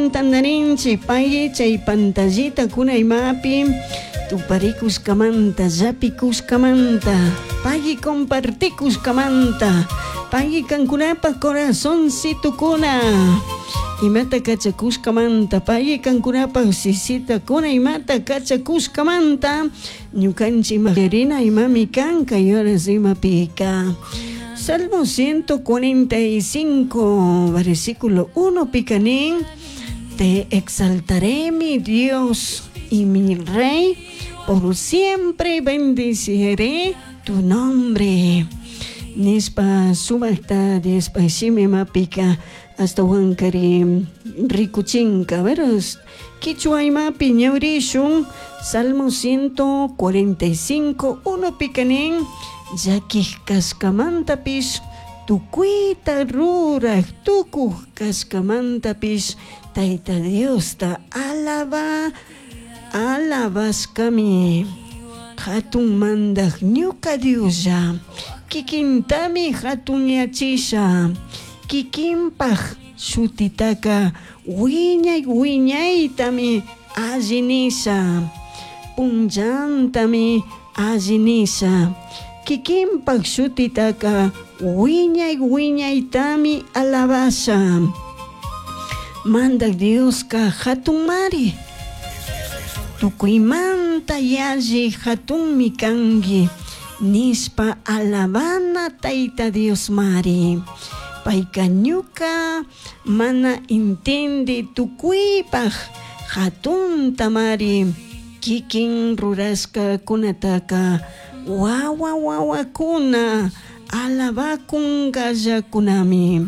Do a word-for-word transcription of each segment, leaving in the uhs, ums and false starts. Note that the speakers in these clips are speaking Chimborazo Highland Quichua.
Kunan tandarinchik pay chay pantallita kuna imapi tuparikushkamanta llapikushkamanta pay compartikushkamanta pay kankunapaj corazoncitukuna imata kachakushkamanta pay kankunapaj sisita kuna imata kachakushkamanta ñukanchik rina imami kan kay horas imapika. Salmo ciento cuarenta y cinco, versículo uno, picanín, te exaltaré, mi Dios y mi Rey, por siempre bendeciré tu nombre. Nispa sumaqta Diospa shimi mapika hasta wankari rikuchinka. A ver, kichwa imapi ñawrishun, Salmo ciento cuarenta y cinco, uno, picanín, llakij kashkamantapish tukuyta ruraj tukuj kashkamantapish Tayta Diosta alaba alabashkami hatun mandaj ñuka Dioslla kikintami hatunyachisha kikinpaj shutitaka wiñay wiñaytami allinisha punllantami allinisha kikinpaj shutitaka wiñay wiñaytami alabasha. Mandaj Dioska hatunmari tukuymanta yalli hatunmi kanki nispa alabana Tayta Diosmari. Payka ñuka mana intindi tukuypaj hatuntamari kikin rurashkakunataka wawa wawakuna alabakunkallakunami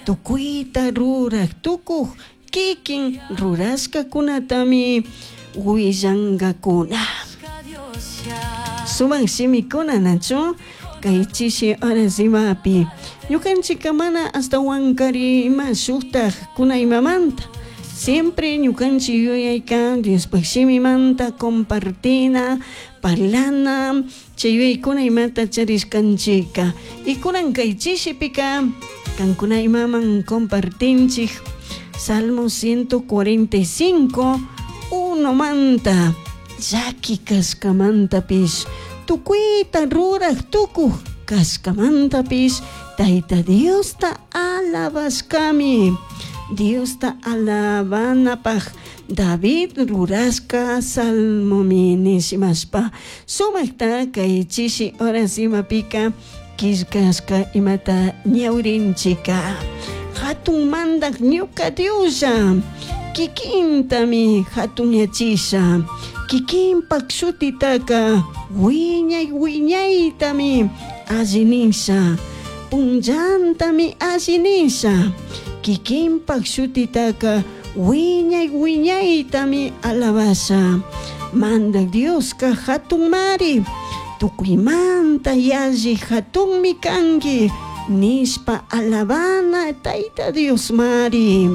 tukuyta ruraj tukuj kikin rurashkakunatami willankakuna. Sumaq shimikuna nachu kay chishi horas imapi ñukanchika mana hasta wankari ima shuktaj kuna imamanta siempre ñukanchik yuyaykan Diospaj shimimanta compartina parlana chay yuyaykuna imata charishkanchika y kunan kay chishipika kankuna imaman compartinchik Salmo ciento cuarenta y cinco, uno manta llaki kashkamantapish tukuyta ruraj tukuj kashkamantapish Tayta Diosta alabashkami. Diosta alabanapaj David rurashka salmomi nishimashpa sumaqta kay chishi horas imapika killkashka imata ñawrinchika hatun mandaj ñuka Dioslla kikintami hatunyachisha kikinpak shutitaka wiñay wiñaytami allinisha punllantami allinisha kikinpak shutitaka wiñay wiñaytami alabasha. Mandaj Dioska hatunmari tukuymanta yalli hatunmi kanki nispa alabana Tayta Diosmari.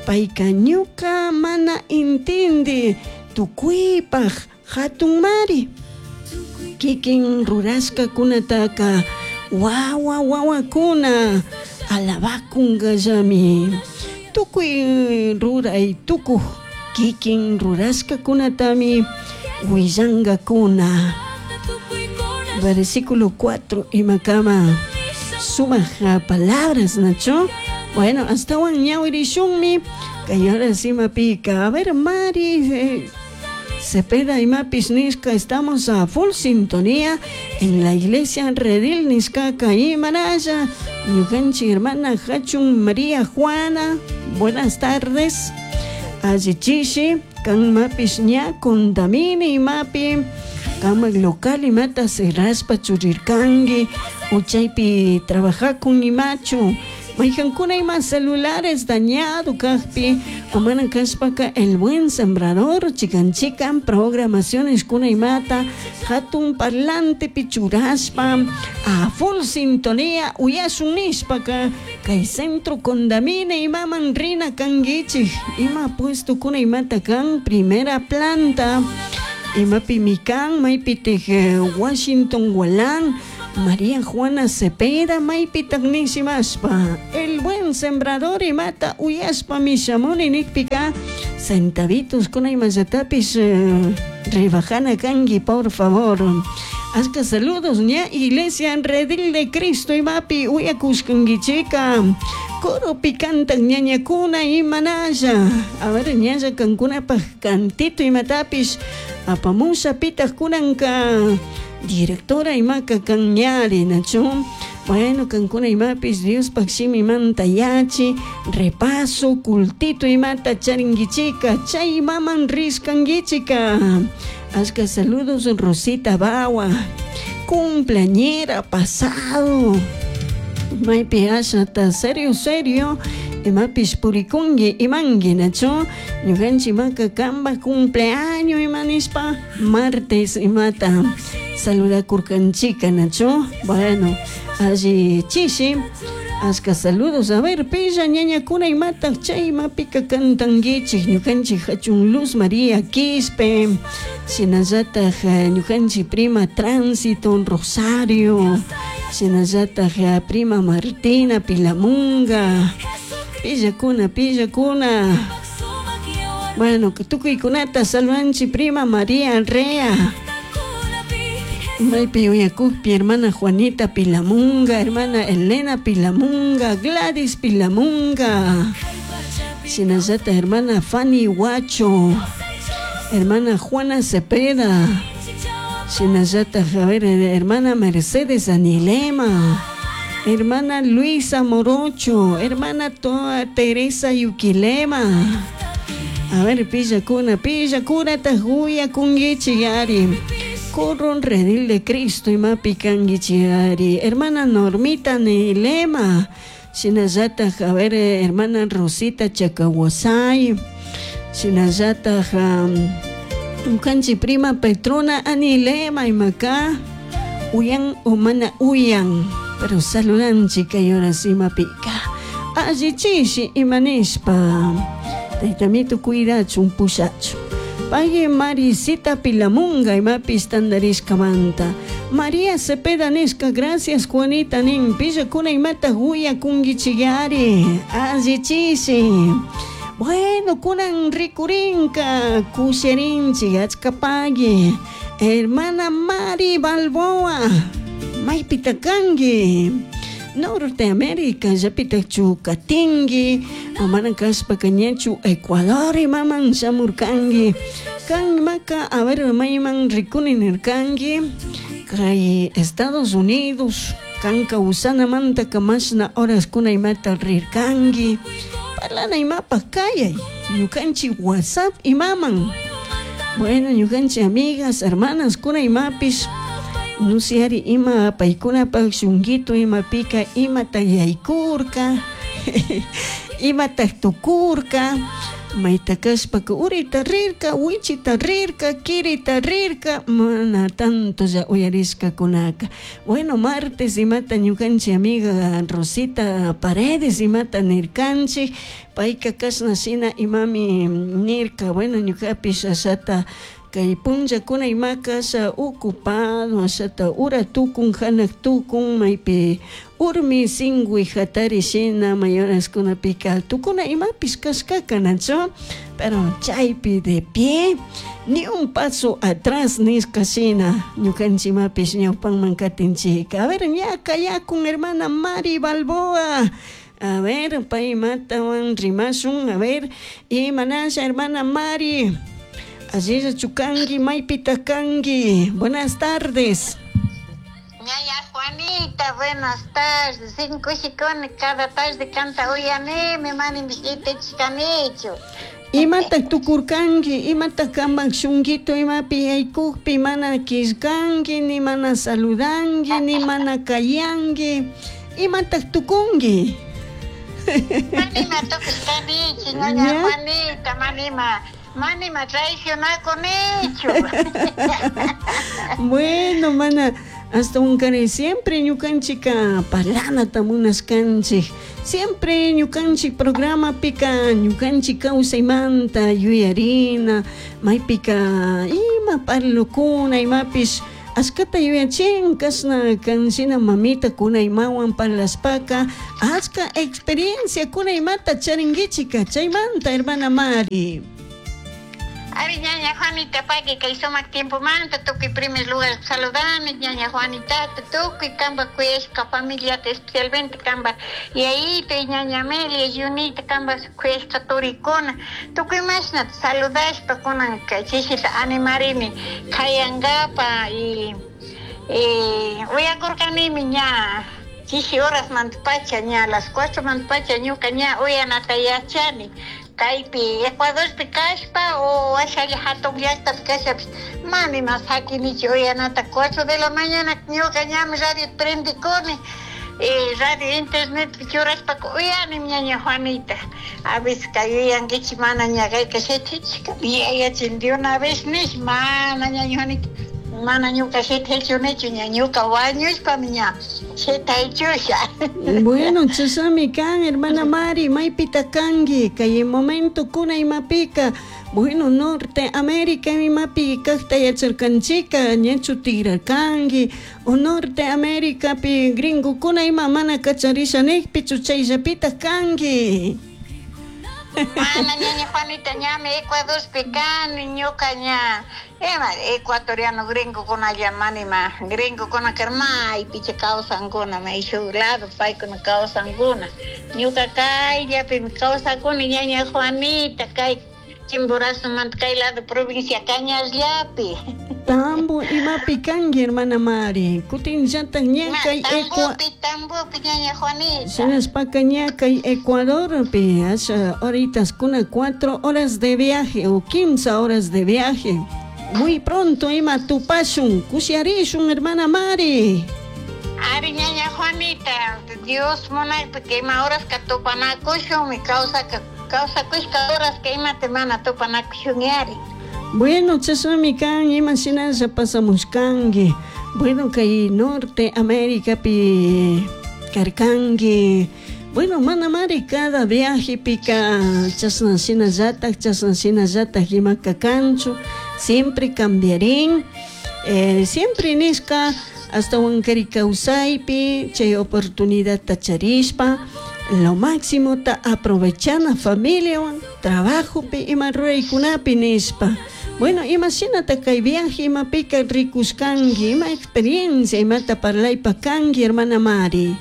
Payka ñuka mana intindi tukuypaj hatunmari kikin rurashkakunataka wawa wawakuna alabakunkallami tukuy ruray tukuj kikin rurashkakunatami willankakuna. Versículo cuatro imakama sumaq palabras nacho. Bueno, hasta ñawirishunmi kay horas imapika. A ver, Mari eh, Cepeda imapis nishka, estamos a full sintonía en la iglesia Redil nishkaka imaraya. Ñukanchik hermana Hachun María Juana, buenas tardes. Allichishi, kan mapis ña contamini imapi, kamak local imata cerraspa churirkanki, uchaypi trabajakun imachu. Mayhankuna ima celulares dañado kajpi, omana kashpaka el buen sembrador, chikan chikan programaciones kuna imata, hatun parlante pichuraspa, a full sintonía, uyasun nishpaka, kay centro condamine imaman rina kangichik, ima puesto kuna imata kan primera planta, imapi mikan, maypitij Washington Gualán, María Juana Cepeda maypitaq nishimashpa el buen sembrador imata uyashpa mishamuni nikpika centavitos kuna imallatapish eh, rebajana kanki por favor. Ashka saludos ña iglesia Redil de Cristo imapi uyakushkankichika coropi kantak ñañakuna imanalla. A ver, ñalla kankunapaj cantito imatapish apamusha pitaq kunanka directora imaka kan ñari nachu. Bueno, kankuna imapis Diospaj shimimanta yachi repaso cultito imata charinkichika chay imaman rishkankichika. Ashka saludos Rosita Bawa, cumpleañera pasado. Maypi ashata serio serio imapish purikunki imanki nachu ñukanchik imaka kanpak cumpleaños ima nishpa martes imata saludakurkanchika nachu. Bueno, alli chishi ashka saludos. A ver, pilla ñañakuna imata chay imapika kantankichik ñukanchik hachun Luz María Quispe shinallataj ñukanchik prima Tránsito Rosario shinallataj prima Martina Pilamunga pillakuna pillakuna. Bueno, tukuykunata saludanchik prima María Rea maypi uyakukpi hermana Juanita Pilamunga, hermana Elena Pilamunga, Gladys Pilamunga, shinallata hermana Fanny Huacho, hermana Juana Cepeda, shinallata a ver, hermana Mercedes Anilema, hermana Luisa Morocho, hermana Toa Teresa Yuquilema. A ver, pillakuna, pillakuna tajuya kungichi yari. Corron Redil de Cristo imapi kankichi yari. Hermana Normita Nilema. Shinallata, a ver, hermana Rosita Chacahuasay. Shinallata, um, kanchi prima Petrona Anilema imaka. Uyan o mana uyan. Pero saludanchi kay horas imapika. Allichishi imanishpa. Taytamito cuidachun pushachu. Pague Marisita Pilamunga imapis tandarishkamanta. María Cepeda nishka, gracias Juanita nin. Pillakuna imata huya kungichiyari. Allichishi. Bueno, kunan rikurinka kusherinchi achka pague. Hermana Mari Balboa. Maypita kanki. Norteamérica, llapitachu katinki, mana kashpaka ñachu Ecuador imaman shamurkanki. Kan imaka, a ver, mayman rikuni nirkanki, kay Estados Unidos, kan kawsanamanta mashna horaskuna imata rirkanki. Parlana imapaj kayay, ñukanchik WhatsApp imaman. Bueno, ñukanchik amigas, hermanas, kuna imapish, nusiari ima paykunapaj shunguito imapika imata yaykurka, imata tukurka, mayta kashpaka urita rirka, wichita rirka, kirita rirka, mana tanto ya uyarishkakunaka. Bueno, martes imata ñukanchik amiga Rosita Paredes imata nirkanchik, payka kashna shina imami nirka, bueno, ñukapish ashata kay punllakuna imaka asha ocupado, ashata ura tukun, hanak tukun, maypi urmi sinwi hatari shina may horaskunapika tukuna imapish kashkaka nachu, pero chaypi de pie, ni un paso atrás nishka shina ñukanchik imapish ñawpanman katinchika. A ver, ña kayakun hermana Mari Balboa. A ver, pay imatawan rimashun, a ver, imanasha hermana Mari. Allí chukangi, maypita kangi. Buenas tardes. Ñaya Juanita, buenas tardes. Cinco shikoni cada tarde canta uyanimi, mani mishite chikanichu. Imata tukurkanki, imata kampak shunguito imapi yaykukpi mana killkanki, ni mana saludanki, ni mana kayanki. Imata tukunki. Manima tukushkanichu, ñaña Juanita, manima. Manima traicionakunichu. Bueno, mana, hasta un care siempre ñukanchika parlanata munashkanchik. Siempre ñukanchik programa pika ñukanchik kawsaymanta yuyarina, maypika ima parlukuna, imapish Ashkata yuyachin kashna kanshina mamita kunaymawan parlashpaka achka experiencia kunaymata charinkichika chaymanta hermana Mari. Ari ñaña Juanita paqui kay sumak tiempomanta tukuy primer lugar saludani ñaña Juanitata tukuy kamba kuyashka familiata especialmente kamba yayita y ñaña Amelia Junita kamba kuyashka turikuna tukuy mashnata saludashpa kunanka chishita animarini kayankapa y eh, uyakurkanimi ña chishi horas mantapacha ña las cuatro mantapacha ñuka ña uyanata yachani kaypi Ecuadorpi kashpa o ashalla hatun llaqtapi kashapish mana sakinichu uyanata cuatro de la mañana ñuka ñami radio prendikuni eh, radio internetpi churashpaka uyani ñaña Juanita a veces kay yuyankichik mana ña kayka shitichika yayachin de una vez nish mana ñaña Juanita mana ñuka shitaychunichu ña ñuka wañushpami ña shitaychusha. Bueno, chasami kan hermana Mari, maypita kanki kay momento kuna imapika bueno, Norte América imapi kaqta yacharkanchika ñachu tigrarkanki o Norte Americapi gringokuna ima mana kacharisha nijpichu chayllapitaq kanki. Mana ñaña Juanita ñami Ecuadorpi kani ñuka ña ima ecuatoriano gringokunalla manima gringokuna maypicha kawsankuna may shuk lado paykuna kawsankuna ñuka kayllapimi kawsakuni ñaña Juanita kay Chimborazomanta kay lado provincia Cañasllapi. Tambo imapi kanki hermana Mari kutinllatak ña kay Tambopi Tambopi ñaña Juanita. Shinaspaka ña kay Ecuadorpi asha horitas kuna cuatro horas de viaje o quince horas de viaje. Muy pronto ima tupashun kushiarishun hermana Mari. Ari ñaña Juanita, Dios munaypi que ima horas ka tupanakushunmi kawsaka kawsakushka horas que imata mana tupanakushun yari. Bueno, chashnami kan ima shinalla pasamushkanki. Bueno, kay Norte Americapi karkanki. Bueno, mana mari cada viajepika chashna shinallatak chashna shinallatak imaka kanchu siempre cambiarín. Eh, siempre nishka hasta wankari kawsaypi chay oportunidadta charishpa lo máximo ta aprovechana familiawan trabajopi ima ruraykunapi nishpa. Bueno, ima shinata kay viaje imapika rikushkanki ima experiencia imata parlaypa kanki hermana Mari.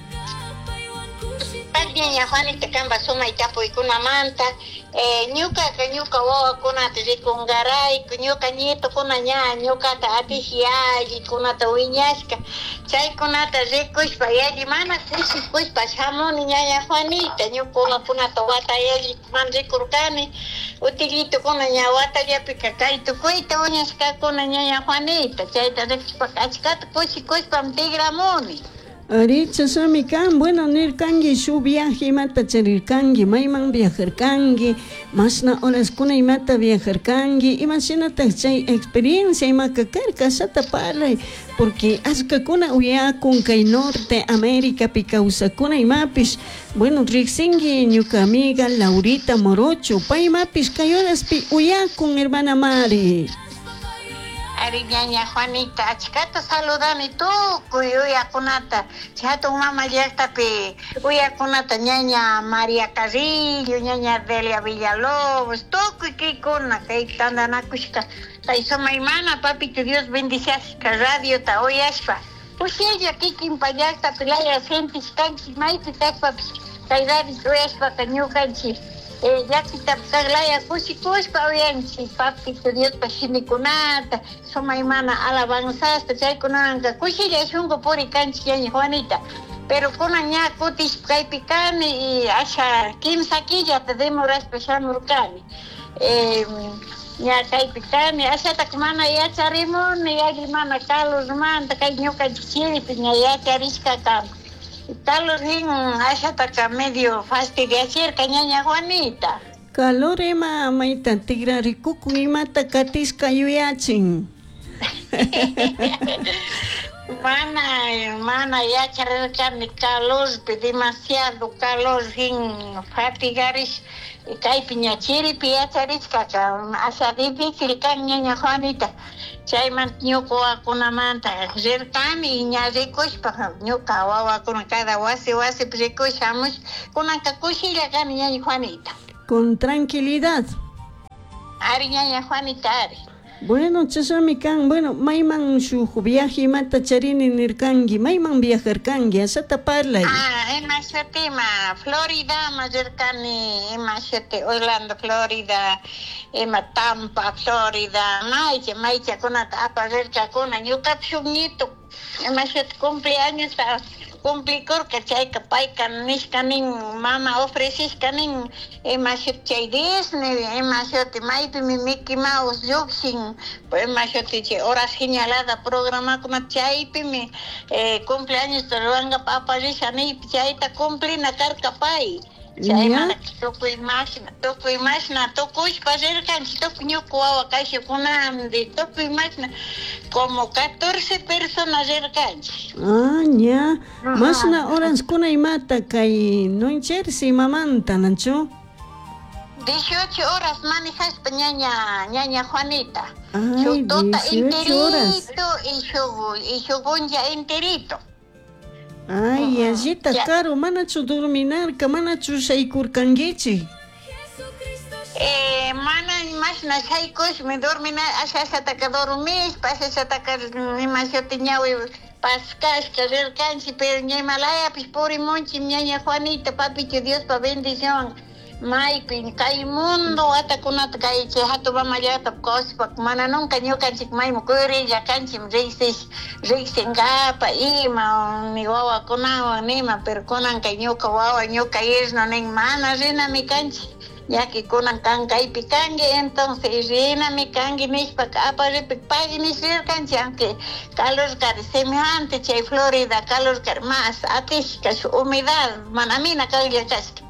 Ñaña Juanita kamba sumay tapuykunamanta eh, ñukaka ñuka wawakunata rikunkarayku ñuka nietukuna ña ñukata atish yallikunata wiñashka chaykunata rikushpa yalli mana kushikushpa shamuni ñaña Juanita ñuka wawakunata wata yalli man rikurkani utilitukuna ña watallapika kay tukuyta wiñashkakuna ñaña Juanita chayta rikushpaka achkata kushikushpam tigramuni. Ari chashnami kan, bueno, nirkanki shuk viaje imata charirkanki, mayman viajarkanki, mashna horaskuna imata viajarkanki, imashinatak chay experiencia imaka karka ashata parlay, porque ashkakuna uyakun kay Norte Americapi kawsakuna imapish, bueno, riqsinki ñuka amiga Laurita Morocho, paymapish kay horaspi uyakun hermana Mari. Ari ñaña Juanita, achkata saludani tukuy uyakunata, hatun mama llaqtapi uyakunata ñaña María Carrillo, ñaña Delia Villalobos, tukuy kaykuna kay tantanakushka kay sumaymana papito Dios bendiciashka radiota uyashpa kushilla kikinpa llaqtapi laya sentishkanchik maypi kashpapish kay radio uyashpaka ñukanchik eh, llaqtitapi kaqlaya kushikushpa uyanchik papito Diospa shimikunata sumaymana alabanzasta chaykunawanka kushilla shunku purikanchik ñaña Juanita pero kunan ña kutishpa kaypi kani y asha kimsa killata demorashpa shamurkani eh, ña kaypi kani ashataka mana yacharimuni yalli mana calormanta kay ñukanchik chiripi ña yacharishka kan calor hin ashataka medio fastidiachirka ñaña Juanita. Calor ima mayta tigrarikukun imata katishka yuyachin. Mana mana yacharirkani calorpi demasiado calor hin fatigarish Kaypi ña chiripi yacharichkaka asha difícil kan ñaña Juanita. Chaymanta ñuka wawakunamanta rirkani ña rikushpa ñuka wawakuna cada wasi wasipi rikush shamush kunanka kushilla kani ñaña Juanita. Con tranquilidad. Ari ñaña Juanita ari. Bueno, chashami kan, bueno, mayman shuk viaje imata charini nirkanki, mayman viajarkanki, ashata parlay. Ah, ima shutima, Florida ma rirkani, ima shuti Orlando, Florida, ima Tampa, Florida, maycha, maychakunata aparirkakuna, ñukapish shuk nieto, ima shuti cumpleaños cumplikurka chayka payka nishka nin mama ofrecishka nin ima shuti chay Disney ima shuti maypimi Mickey Mouse llukshin ima shuti chay hora señalada programakuna chaypimi eh, cumpleañosta rurankapak aparisha niypi chayta cumplina karka pay. Chaymanta tukuy mashna tukuy mashna tukushpa rirkanchik tukuy ñuka wawa kashukunandi tukuy mashna como catorce personas rirkanchik. Ah, ña. Mashna horaskuna imata kay New Jersey mamanta, nachu? dieciocho horas manejashpa ñaña ñaña Juanita. Ay, Shuk tuta dieciocho horas. enterito y shuk y shuk punlla enterito. Ay, allita caro, manachu durminarka, manachu shaykurkankichik. Eh, mana mashna shaykushmi dormina asha ashataka dormishpa asha ashataka ima shuti ñawi paskashka rirkanchik pero ña imalayapish purimunchik ñaña Juanita papicho Diospa bendición maypi kay mundo watakunata kay chay hatun mama llaqtapi kawsashpa mana nunca ñukanchik mayman kuyurilla kanchik riqsish riqsinkapa ima ni wawakunawan nima pero kunanka ñuka wawa ñuka yerno nin mana rinami kanchik ya que kunan kan kaypi kanki entonces rinami kanki nishpa aparipi pagui nish rirkanchik aunque calor kari semejante chay Florida calor kari mas atishka shuk humedad mana mina kaqlla kashka.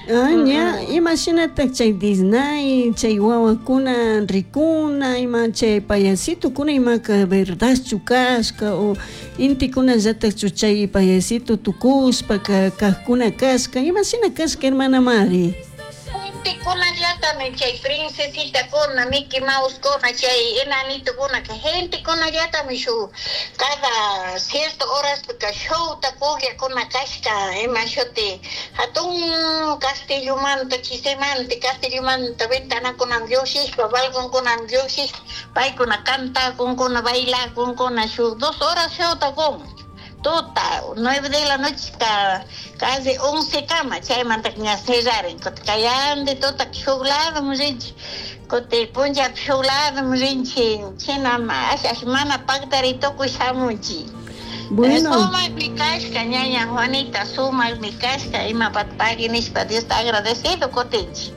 Ah, ña, imashinatak chay Disney, chay wawakuna rikuna, ima chay payasitokuna imaka verdadchu kashka o intikunallataqchu chay payasito tukushpa kajkuna kashka, imashina kashka hermana Mari? Gentekunallatami chay princesitakuna, Mickey Mousekuna, chay enanitokuna, gentekunallatami shuk cada cierto horaspika showta pukllakuna kashka ima shuti hatun castillomanta chisemanta castillomanta ventanakunaman llushishpa balconkunaman llushishpa paykuna cantakunkuna bailakunkuna shuk dos horas showta kun tuta nueve de la noche ka casi once kama chaymanta ña cerrarin kutin kayandi tuta shuk ladoman rinchik kutin punllapi shuk ladoman rinchik china asha asha mana paktari tukuy shamunchik. Bueno. Sumakmi kashka ñaña Juanita sumakmi kashka imapata pagui nishpa Diosta agradecido kutinchik.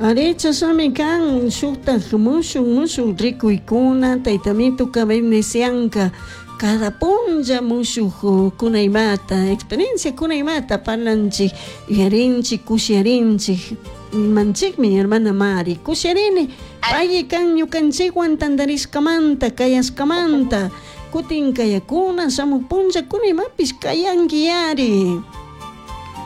Ari chashami kan shuktak mushuk mushuk rikuykuna taytamituka bendicianka cada punlla mushuk kunaymata experiencia kunaymata parlanchik yuyarinchik kushiyarinchik manchikmi hermana Mari kushiyarini paymi kan ñukanchikwan tantarishkamanta kayashkamanta kutin kayakuna shamuk punllakuna imapish kayankiyari.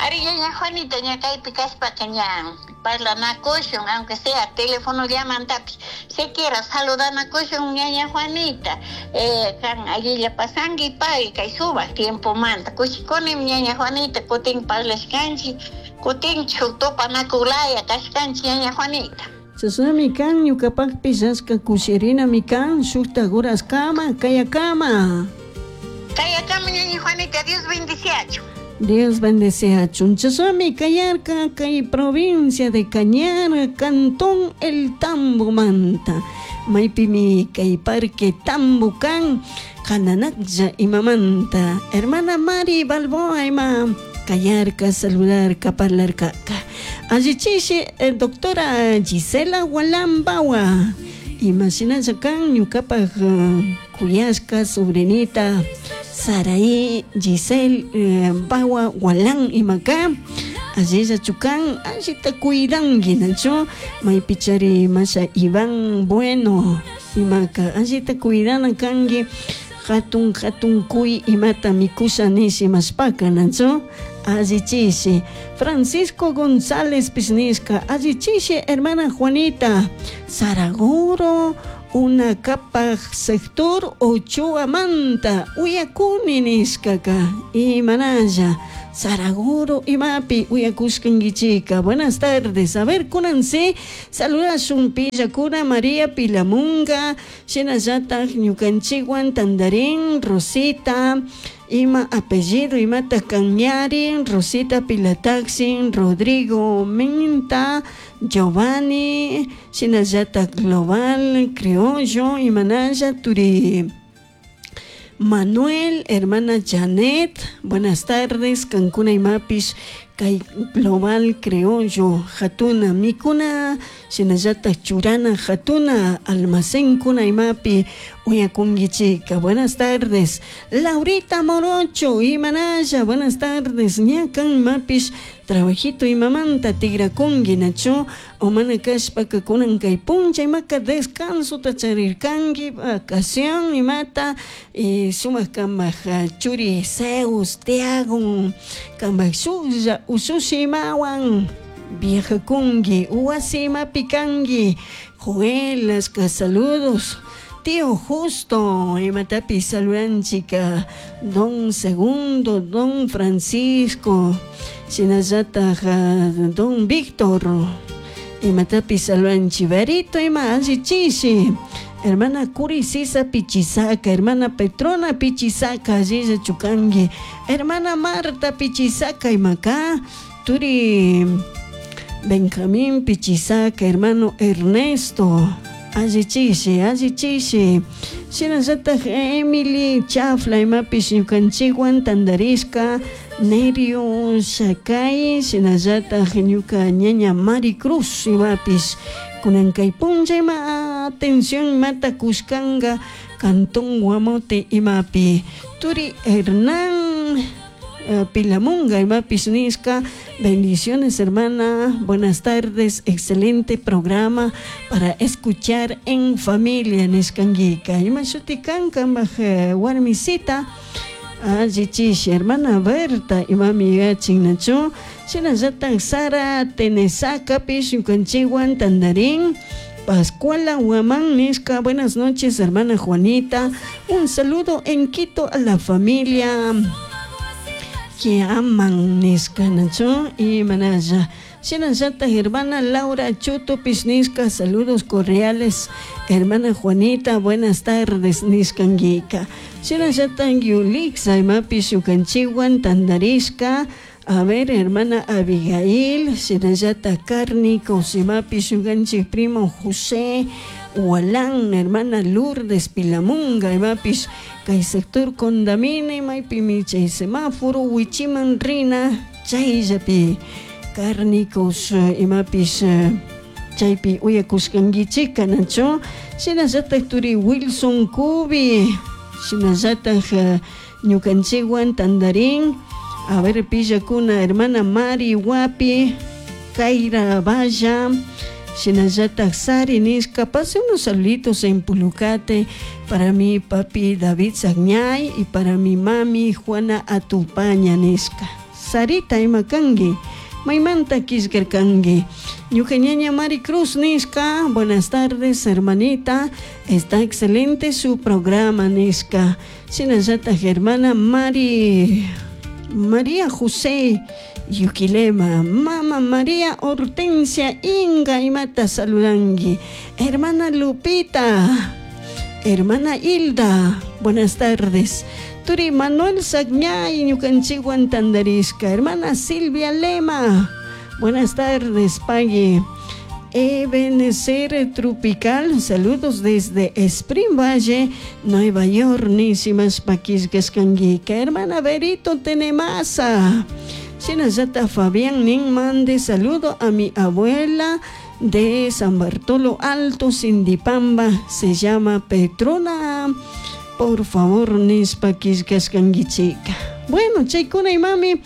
Ari ñaña Juanita ña kaypi kashpaka ña parlanakushun aunque sea telefonollamantapish siquiera saludanakushun ñaña Juanita eh, kan allilla pasanki pagui kay sumak tiempomanta kushikunimi ñaña Juanita kutin parlashkanchik kutin shuk tupanakuylaya kashkanchik ñaña Juanita. Chashnami kan ñukapakpish ashka kushirinami kan shuktak horaskama kayakama. Kayakama ñaña Juanita Dios bendiciachun. Dios bendeciachun. Chashnami kayarka kay provincia de Cañar, cantón El Tambo manta. Maypimi kay parque Tambo kan Kananaklla imamanta. Hermana Mari Balboa ima kayarka, saludarka, parlarka. Allichishi eh, doctora Gisela Walambawa. Imashinalla kan ñukapaj uh, kuyashka sobrinita Saraí Giselle eh, Bawa Walán imaka allilla chukan allita cuidanki nachu maypichari masha Iván Bueno imaka allita cuidana kanki hatun hatun kuy imata mikusha nish imashpaka nachu Allichishi. Francisco González Pisnisca, allichishi, hermana Juanita. Saraguro, una capa sector Ochoa Manta, uyakuni nishkaka, imanalla. Saraguro imapi uyakushkankichika. Buenas tardes. A ver, kunansi saludashun pillakuna María Pilamunga, shinallatak ñukanchikwan tandarin Rosita, ima apellido imata Cañari, Rosita Pilataxin, Rodrigo Minta, Giovanni, shinallatak Global, Criollo, imanalla turi Manuel, hermana Janet, buenas tardes, Cancuna y Mapis, kay Global Criollo, Jatuna, Mikuna, shinallata Churana, Jatuna, Almacén Kuna y Mapi, Uyakungichika, buenas tardes, Laurita Morocho, Imanaya, buenas tardes, Ñakan Mapis, trabajito y mamanta tigrakungi nacho, omana kashpaka kunan kay puncha imaka descanso tacharirkanki, vacación imata, y sumak kamak churi Zeus, Tiago, kamak shulla, usushi imawan, viajakungi, uwasi imapi kanki, Joel, aska saludos. Tío Justo, imatapi saludanchika, Don Segundo, Don Francisco, shinallataq Don Víctor, imatapi saludanchi, Berito, ima allichishi, hermana Curisisa Pichisaca, hermana Petrona Pichisaca, allilla chukangi, hermana Marta Pichisaca, imaka, turi Benjamín Pichisaca, hermano Ernesto, allichishi, allichishi, shinallataq Emily Chafla, imapish ñukanchikwan tandarishka, Nerio Shakay, shinallataq ñuka ñaña Mari Cruz, imapish kunan kay punlla ima atención imata kushkanga Cantón Guamote imapi, turi Hernán uh, Pilamunga imapish nishka, bendiciones hermana, buenas tardes, excelente programa para escuchar en familia nishkanguika, ima shuti kan kambaj warmisita, allichishi, hermana Berta imami yachin nachu, shinallataq Sara Tenesakapish ñukanchikwan tandarin, Pascuala Huamán nishka, buenas noches hermana Juanita, un saludo en Quito a la familia que aman nishka nachu, y manaya. Shinallataq hermana Laura Chuto nishka, saludos cordiales, hermana Juanita, buenas tardes nishkanguika. Shinallataq Yulixa imapish ñukanchikwan tandarishka, a ver, hermana Abigail, shinallataq Cárnicos imapish ñukanchik primo José Hualán, hermana Lourdes Pilamunga, imapish kay sector Condamine, maypimi chay semáforo wichiman rina, chayllapi Cárnicos imapish chaypi uyakushkankichika nachu, shinallataq turi Wilson Cubi, shinallataq ñukanchikwan tandarin, a ver, pillakuna, hermana Mari Guapi, Kaira Valla, shinallataq Sari nishka, pase unos saluditos en Pulucate para mi papi David Sagñay y para mi mami Juana Atupaña nishka. Sarita imakangi, maymanta kishkarkangi. Ñuka ñaña Mari Cruz nishka, buenas tardes hermanita, está excelente su programa nishka. Shinallataq hermana Mari María José Yuquilema, Mama María Hortensia Inga imata saludangi, hermana Lupita, hermana Hilda, buenas tardes. Turi Manuel Sagñay ñukanchikwan tandarishka, hermana Silvia Lema, buenas tardes, Pagui. Ebenezer Tropical, saludos desde Spring Valle, Nueva York, nisimas paquisgaskanguika, hermana Berito Tenemasa, shinallata Fabián nin mande saludo a mi abuela de San Bartolo Alto, Sindipamba, se llama Petrona, por favor, nispa quisgaskanguichika. Bueno, chaykuna imami,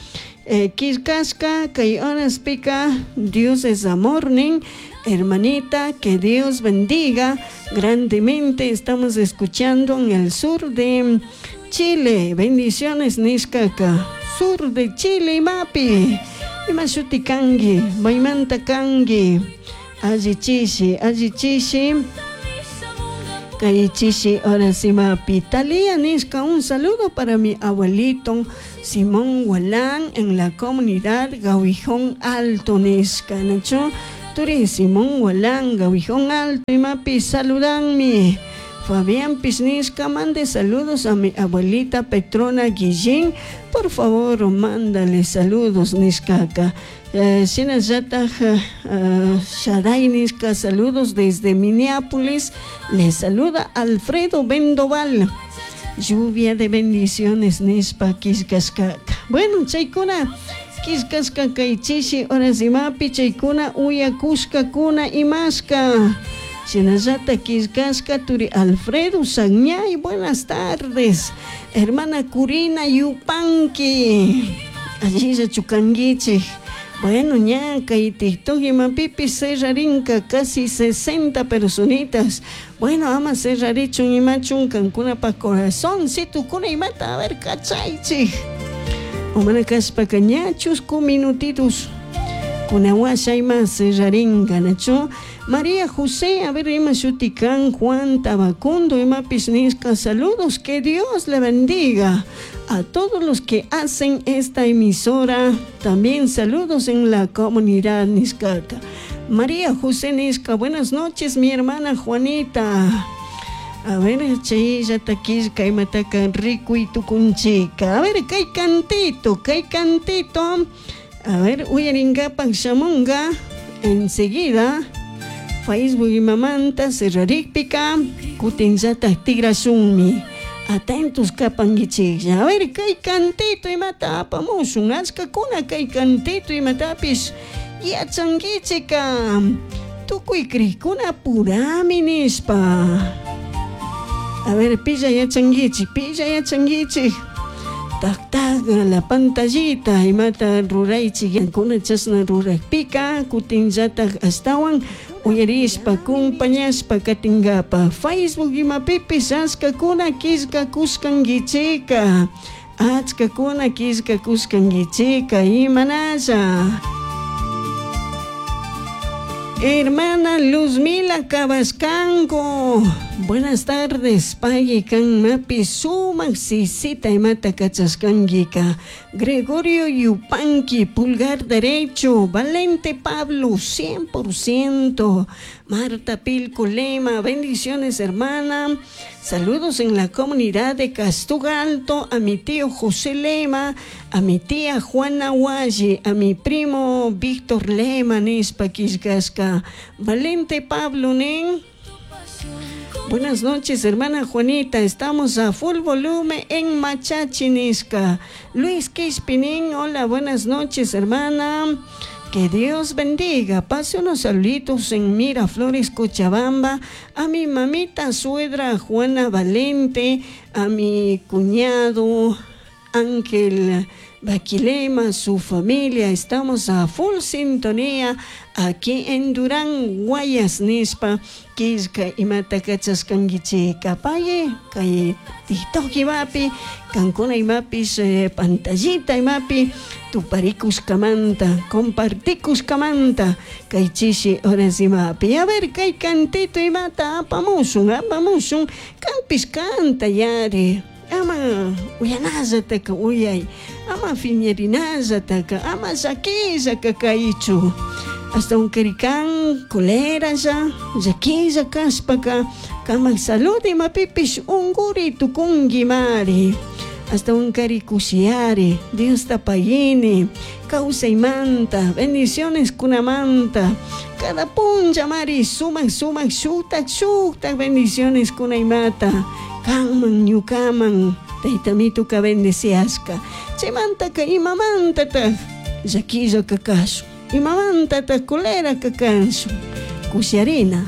eh, quiscasca, kay horaspika, Dios es amor, nin, hermanita, que Dios bendiga grandemente. Estamos escuchando en el sur de Chile. Bendiciones, nishkaka. sur de Chile imapi. Ima shuti kanki, maymanta kanki. Alli chishi, alli chishi. Kay chishi horas imapi. Talía nishka, un saludo para mi abuelito Simón Walán en la comunidad Gawijón Alto nishka, nachu? Turi Simón Walán, Gawijón Alto imapi, saludanmi. Fabián Pisnisca, mande saludos a mi abuelita Petrona Guillín. Por favor, mándale saludos, nishkaka. Eh, Shinallataj uh, Shaday nishka, saludos desde Minneapolis. Le saluda Alfredo Vendoval. Lluvia de bendiciones, nishpa kishkashkaka. Bueno, chaykuna, kishkashka kay chishi horas imapi, chaykuna uyakushkakuna imashka. Shinallata kishkashka turi Alfredo Sagñay, buenas tardes. Hermana Curina Yupanqui, allilla chukanguichik. Bueno, ña kay TikTok imapipi cerrarinka casi sesenta personitas. Bueno, ama cerrarichun imachun kankuna pa corazón, si tukuna imata, a ver, kachaychik. Umana kashpaka ña chusku minutitos. Kunawasha ima cerrarinka, nachu. María José, a ver, ima shutikan, Juan Tabacundo, ima pisnisca, saludos, que Dios le bendiga a todos los que hacen esta emisora, también saludos en la comunidad niscaca. María José Nisca, buenas noches, mi hermana Juanita. A ver, chaylla taquisca, imataka rico y tucunchica. A ver, kay cantito, kay cantito. A ver, uyaringapak shamunga, enseguida. Facebook y mamanta, cerrarikpika, kutinllata tigrashunmi. Atentos kapankichik. A ver, kay cantito imata apamushun, achkakuna kay cantito imatapis yachankichika. Tukuy krikuna purami nishpa. A ver, pilla yachankichik, pilla yachankichik. Tak tak la pantallita imata ruraychik, yankuna chashna rurakpika, kutinllatak astawan uyarishpa, compañashpa katingapa. Facebook imapipis achkakuna killkakushkankichika, achkakuna killkakushkankichika, imanalla. Hermana Luzmila Cabascango, buenas tardes, pagui kan mapi sumak sisita imata kachaskanguika. Gregorio Yupanqui, pulgar derecho, Valente Pablo, cien por ciento. Marta Pilco Lema, bendiciones hermana. Saludos en la comunidad de Castuga Alto, a mi tío José Lema, a mi tía Juana Hualle, a mi primo Víctor Lema, Nispa Quisgasca. Valente Pablo Nen. Buenas noches, hermana Juanita. Estamos a full volumen en Machachinisca. Luis Quispinin, hola, buenas noches, hermana. Que Dios bendiga. Pase unos saluditos en Miraflores, Cochabamba, a mi mamita suegra Juana Valente, a mi cuñado Ángel Baquilema, su familia. Estamos a full sintonía aquí en Durán, Guayas, Nispa, Quisca y Matacachascanguichica. Paye, calle TikTok imapi, Cancuna imapis, eh, pantallita imapi, tuparicuscamanta, comparticuscamanta, caichishi horas imapi. A ver, kay cantito imata, apamusun, apamusun, campis canta yare. Ama uyanallataka uyay, ama fiñerinallataka, ama llaquillaka kaychu. Hasta un karikan, coleralla, llaquilla kashpaka, kamak salud imapipish unguri tukungi mari. Hasta un karikusiari, Dios tapayini, kawsaymanta, bendiciones kunamanta, cada puncha mari, sumak sumak shutak shutak bendiciones kunaymata. Kanman ñukaman taytamituka bendeciasqa chaymantaka imamantataq llaquilla kakashun imamantataq colera kakanshun kusharina.